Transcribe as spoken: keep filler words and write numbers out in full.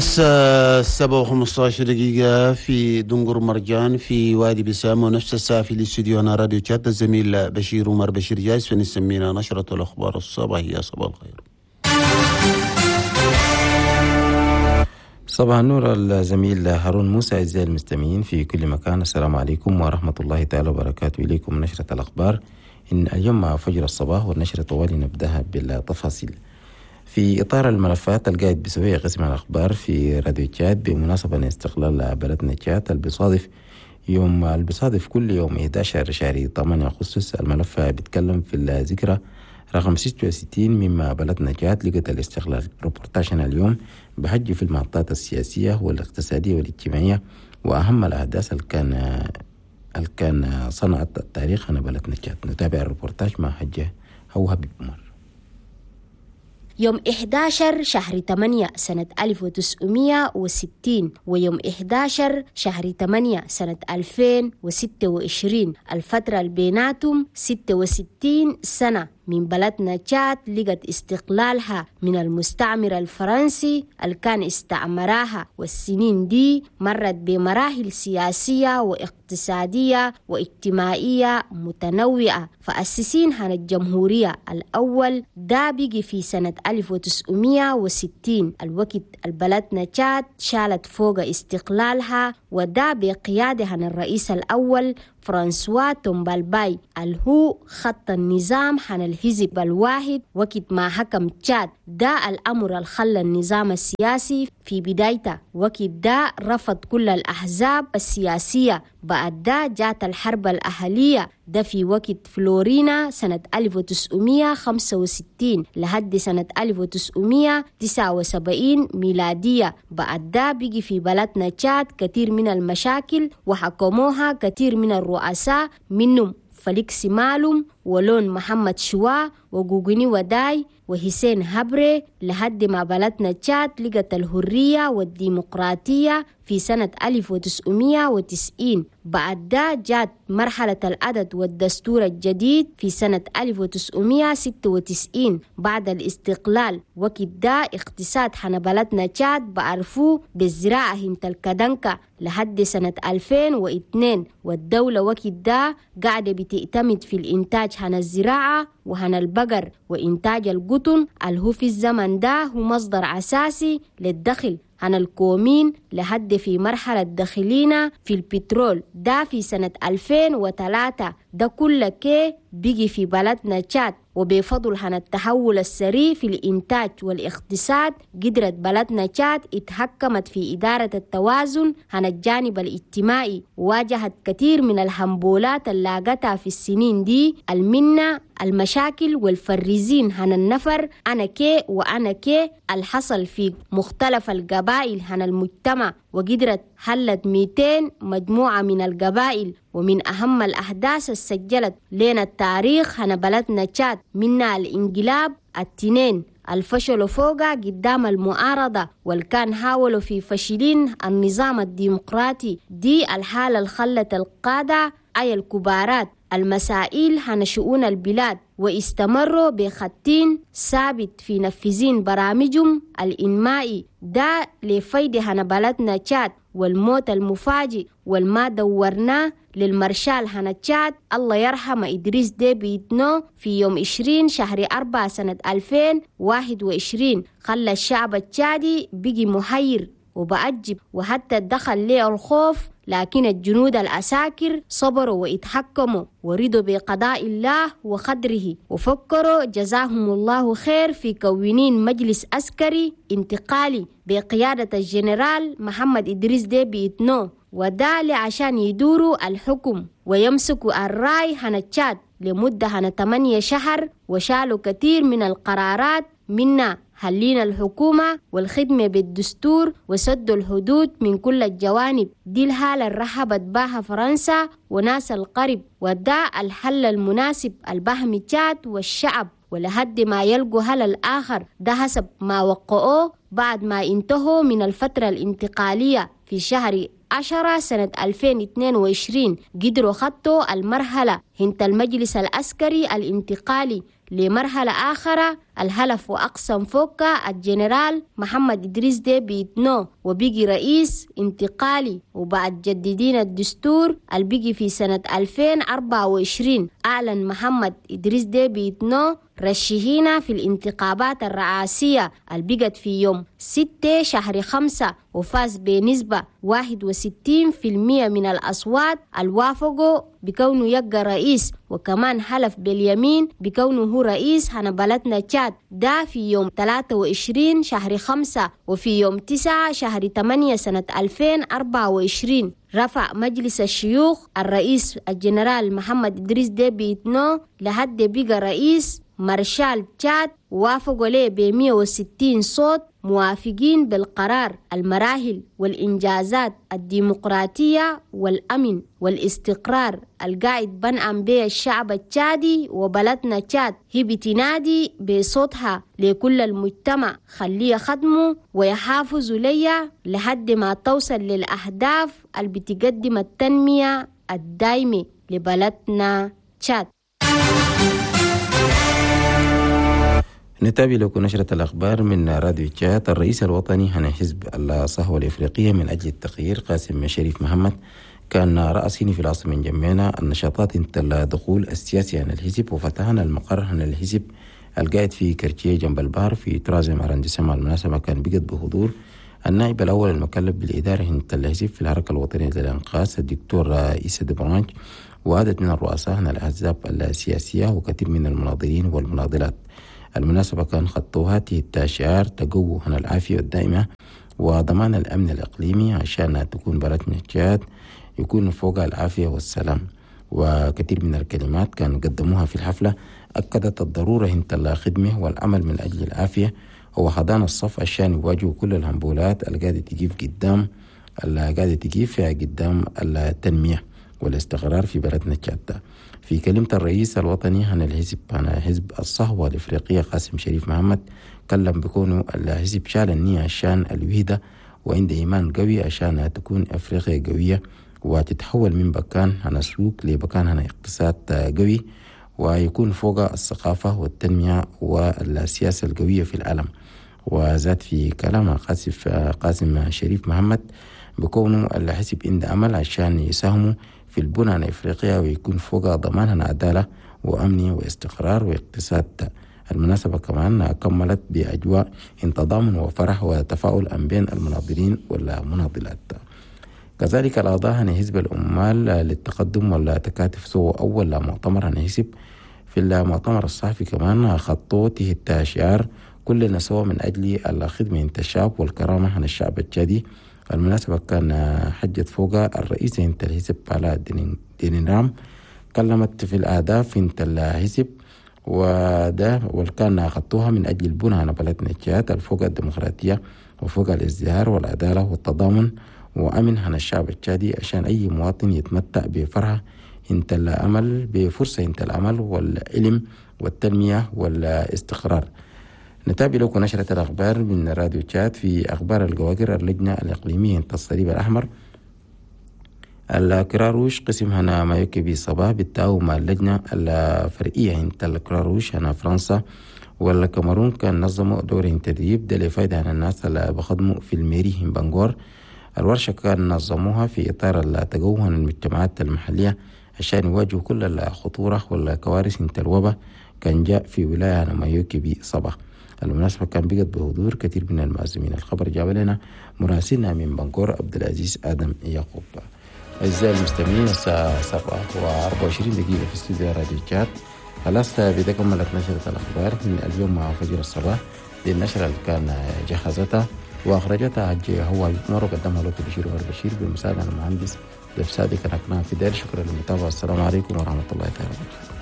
الساعة سبعة وخمسة عشر دقيقة في دنقر مرجان في وادي بسام، ونفس الساعة في الاستوديو هنا راديو تشاد. الزميل بشير عمر بشير جاهز فنسمينا نشرة الأخبار الصباحية. صباح الخير. صباح النور الزميل هارون موسى. أعزائي المستمعين في كل مكان، السلام عليكم ورحمة الله تعالى وبركاته. إليكم نشرة الأخبار إن اليوم مع فجر الصباح، والنشرة طوالي نبدأها بالتفاصيل. في إطار الملفات القاعد بسوية قسم الأخبار في راديو تشاد بمناسبة استقلال بلدنا تشاد البصادف يوم البصادف كل يوم إحدى عشر شهر ثمانية أغسطس، الملف بيتكلم في الذكرى رقم ستة وستين مما بلدنا تشاد لقت الاستقلال. روبورتاجنا اليوم بحج في المحطات السياسية والاقتصادية والاجتماعية وأهم الأحداث اللي كان اللي كان صنعت التاريخ هنا بلدنا تشاد. نتابع الروبورتاج مع حجة هو حبيب عمر. يوم إحدى عشر شهر ثمانية سنة ألف وتسعمية وستين ويوم إحدى عشر شهر ثمانية سنة ألفين وستة وعشرين، الفترة البيناتهم ستة وستين سنة من بلدنا تشاد لقت استقلالها من المستعمر الفرنسي اللي كان استعمرها. والسنين دي مرت بمراحل سياسية واقتصادية واجتماعية متنوعة. فأسسين هنا الجمهورية الأول ده بيجي في سنة ألف وتسعمية وستين، الوقت البلدنا تشاد شالت فوق استقلالها، وده بقيادة هنا الرئيس الأول فرانسوا تومبالباي اللي هو خط النظام حن الحزب الواحد وقت ما حكم تشاد. ده الأمر اللي خلى النظام السياسي في بدايته وقت ده رفض كل الأحزاب السياسية. بعد ده جات الحرب الأهلية، ده في وقت فلورينا سنة ألف وتسعمية وخمسة وستين لحد سنة ألف وتسعمية وتسعة وسبعين ميلادية. بعد ده بقي في بلدنا تشاد كثير من المشاكل وحكموها كثير من الرؤساء، منهم فليكس مالوم ولون محمد شوا وجوجني وداي وحسين هبري، لحد ما بلدنا تشاد لقت الحرية والديمقراطية في سنة ألف وتسعمية وتسعين. بعد ده جات مرحلة العدد والدستور الجديد في سنة ألف وتسعمية وستة وتسعين بعد الاستقلال. وقت ده اقتصاد حنا بلدنا تشاد بعرفوه بالزراعة هنت الكدنكة لحد سنة ألفين واثنين، والدولة وقت ده قاعدة بتعتمد في الإنتاج هنا الزراعة وهنا البقر وإنتاج القطن اللي هو في الزمن ده هو مصدر أساسي للدخل هنا الكومين، لحد في مرحلة دخلينا في البترول ده في سنة ألفين وثلاثة. ده كل كي بيجي في بلدنا تشاد، وبفضل هنا التحول السريع في الإنتاج والاقتصاد قدرت بلدنا تشاد اتحكمت في إدارة التوازن هنا الجانب الاجتماعي، وواجهت كثير من الهمبولات اللي لاقتها في السنين دي، المنة المشاكل والفريزين هنا النفر أنا كي وأنا كي الحصل في مختلف القبائل هنا المجتمع، وقدرت حلت ميتين مجموعة من القبائل. ومن أهم الأحداث السجلت لنا التاريخ هنا بلدنا تشاد منها الانقلاب التنين الفشلوا فوقها قدام المعارضة، والكان حاولوا في فشلين النظام الديمقراطي. دي الحالة اللي خلت القادة أي الكبارات المسائل هنا شؤون البلاد واستمروا بخطين ثابت في نفذين برامجهم الإنمائي ده لفايدة هنا بلدنا تشاد. والموت المفاجئ والما دورناه للمارشال هنا تشاد الله يرحمه إدريس ديبي إتنو في يوم عشرين شهر أربعة سنة ألفين وواحد وعشرين خلى الشعب التشادي بقي محير وبأجب، وحتى دخل ليه الخوف، لكن الجنود العساكر صبروا واتحكموا ورضوا بقضاء الله وقدره، وفكروا جزاهم الله خير في كونين مجلس عسكري انتقالي بقيادة الجنرال محمد إدريس ديبي إتنو، وده عشان يدوروا الحكم ويمسكوا الراي هنا تشاد لمدة هنا ثمانية شهر، وشالوا كثير من القرارات، منا حلينا الحكومة والخدمة بالدستور وسدوا الحدود من كل الجوانب. دي الحالة اللي رحبت بها فرنسا وناس الغرب، وده الحل المناسب البهم تشاد والشعب ولحد ما يلقوا حل الآخر. ده حسب ما وقعوه بعد ما انتهوا من الفترة الانتقالية في شهر عشرة سنة ألفين واثنين وعشرين، قدروا خطوا المرحلة هنت المجلس العسكري الانتقالي لمرحلة آخرى. الهلف وأقسم فوقا الجنرال محمد إدريس ديبي إتنو وبيجي رئيس انتقالي. وبعد جددين الدستور البيجي في سنة ألفين وأربعة وعشرين أعلن محمد إدريس ديبي إتنو رشحينا في الانتخابات الرئاسية البقت في يوم ستة شهر خمسة وفاز بنسبة واحد وستين في المية من الأصوات الوافقوا بكونه يبقى رئيس، وكمان حلف باليمين بكونه هو رئيس هنا بلدنا تشاد ده في يوم ثلاثة وعشرين شهر خمسة. وفي يوم تسعة شهر ثمانية سنة ألفين وأربعة وعشرين رفع مجلس الشيوخ الرئيس الجنرال محمد إدريس ديبي إتنو لحد بقى رئيس مارشال تشاد، وافقوا ليه ب مئة وستين صوت موافقين بالقرار. المراحل والإنجازات الديمقراطية والأمن والاستقرار القاعد بنعم به الشعب التشادي وبلدنا تشاد هي بتنادي بصوتها لكل المجتمع، خليه خدمه ويحافظوا ليا لحد ما توصل للأهداف اللي بتقدم التنمية الدايمة لبلدنا تشاد. نتابع لكم نشرة الأخبار من راديو تشاد. الرئيس الوطني عن حزب الصهوة الإفريقية من أجل التغيير قاسم شريف محمد كان رأسيني في العاصمة جمعنا النشاطات الدخول السياسي عن الحزب، وفتحنا المقر عن الحزب القائد في كرتيه جنب البحر في troisième arrondissement. المناسبة كان بقت بحضور النائب الأول المكلف بالإدارة عن الحزب في الحركة الوطنية للإنقاذ الدكتور إيسا دبرانج، وعدد من الرؤساء عن الأحزاب السياسية وكثير من المناضلين والمناضلات. المناسبة كان خطوها تحت شعار تقوى عن العافية الدائمة وضمان الأمن الإقليمي عشان تكون بلدنا تشاد يكون فوق العافية والسلام. وكثير من الكلمات كان قدموها في الحفلة أكدت الضرورة انت الخدمة والعمل من أجل العافية وحضان الصف عشان يواجهوا كل الهمبولات اللي قاعدة تجيب قدام اللي قاعدة تجيب فيها قدام التنمية والاستقرار في بلدنا تشاد. في كلمة الرئيس الوطني عن الحزب عن حزب الصهوة الإفريقية قاسم شريف محمد كلم بكونه الحزب شال النية عشان الوحدة وعنده إيمان قوي عشان تكون أفريقيا قوية وتتحول من بكان عن سوق لبكان عن اقتصاد قوي ويكون فوق الثقافة والتنمية والسياسة القوية في العالم. وزاد في كلامه قاسم قاسم شريف محمد بكونه الحزب عنده أمل عشان يساهموا في البنى الإفريقية ويكون فوق ضمان عدالة وأمن واستقرار واقتصاد. المناسبة كمان كملت بأجواء تضامن وفرح وتفاؤل بين المناضلين والمناضلات. كذلك الأعضاء عن حزب العمال للتقدم والتكاتف سووا أول مؤتمر عن حزب. في المؤتمر الصحفي كمان خطوا تحت شعار كلنا سوا من أجل الخدمة انت الشعب والكرامة عن الشعب التشادي. المناسبة كان حجت فوق الرئيس انت الحزب على دينرام كلمت في الأهداف انت الحزب وده والكان خطوها من أجل البناء على بلدنا تشاد الفوق الديمقراطية وفوق الازدهار والعدالة والتضامن وأمن عن الشعب التشادي عشان أي مواطن يتمتع بفرحة انت الأمل بفرصة انت الأمل والعلم والتنمية والاستقرار. نتابع لكم نشرة الأخبار من راديو تشاد. في أخبار الجواجر اللجنة الإقليمية انت الصليب الأحمر الكراروش قسم هنا مايوكي صباح بالتعاون مع اللجنة الفرعية انت الكراروش هنا فرنسا والكاميرون كان نظموا دور تدريب ده لفايدة عن الناس اللي بخدموا في ال mairie بنغور. الورشة كان نظموها في إطار التجوه عن المجتمعات المحلية عشان يواجهوا كل الخطورة والكوارث انت الوباء كان جاء في ولاية مايوكي صباح. المناسبة كان بقت بحضور كثير من المعزومين. الخبر جاب لنا مراسلنا من بنغور عبد العزيز آدم يعقوب. أعزائي المستمعين الساعة سبعة وأربعة وعشرين دقيقة في استوديو راديو تشاد. خلاص بدا كملت نشرة الأخبار من اليوم مع فجر الصباح. دي النشرة اللي كان جهزتها وأخرجتها حجي هو يتمر وقدمها لكم بشير والبشير بمساعدة المهندس دفسادي. كان في دير. شكرا للمتابعة. السلام عليكم ورحمة الله تعالى وبركاته.